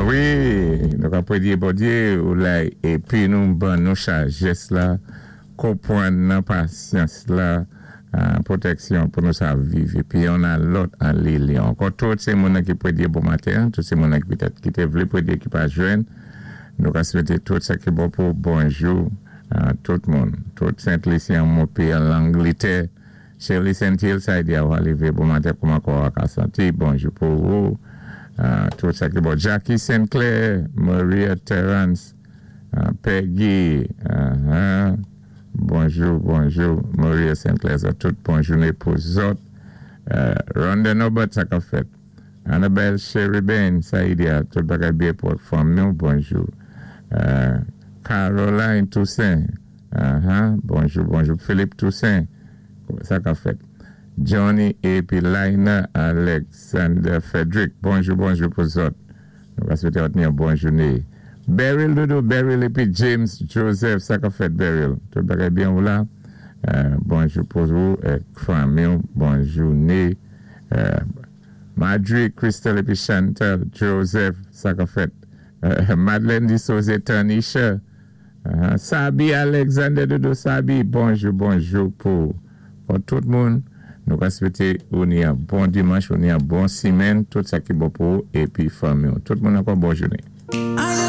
Wi, nou ka pwédyé Bondyé ou lay épi nou ban nou sajès la, konpwann nan, pasyans la, pwotèksyon pou nou sa viv épi youn a lòt an linyon. Ankò tout sé moun ki pwédyé bon maten, tout sé moun ki pétèt ki té vlé pwédyé ki pa jwenn, nou ka swété tout sa ki bon pou bonjou tout moun. Tout Sent Lisyen Mopi an Langlétè, Shirley Saint-Hill, sa di a lévé bon maten, kouman kò a ka santi, bonjou pou ou. Tout sa ki bon. Jackie Sinclair, Maria Terrence, Peggy, bonjou, bonjou, Maria Sinclair, sa tout bon jouné pou zòt. Rhonda Norbert, sa ka fèt. Annabelle Sherry Bain, sa di a, tout bagay byen pou fanmi, bonjou. Caroline Toussaint, bonjou, bonjou. Philippe Toussaint, sa ka fèt. Johnny épi Lina Alexander Frederick, bonjou, bonjou pou zòt. Nou va swété yon bon jouné. Beryl Dodo, Beryl épi James Joseph, sa ka fèt, Beryl. Tout bagay byen ou la. Bonjou pou ou, fanmi, bon jouné. Marjorie, Crystal épi Chantal Joseph, sa ka fèt. Madeleine Dissose, Tanisha. Sabi Alexander Dodo Sabi, bonjou, bonjou pou tout moun. Nou va swété yon bon dimanch, yon bon simenn, tout sa ki bon pou ou épi fanmi. Tout moun ankò bon jouné.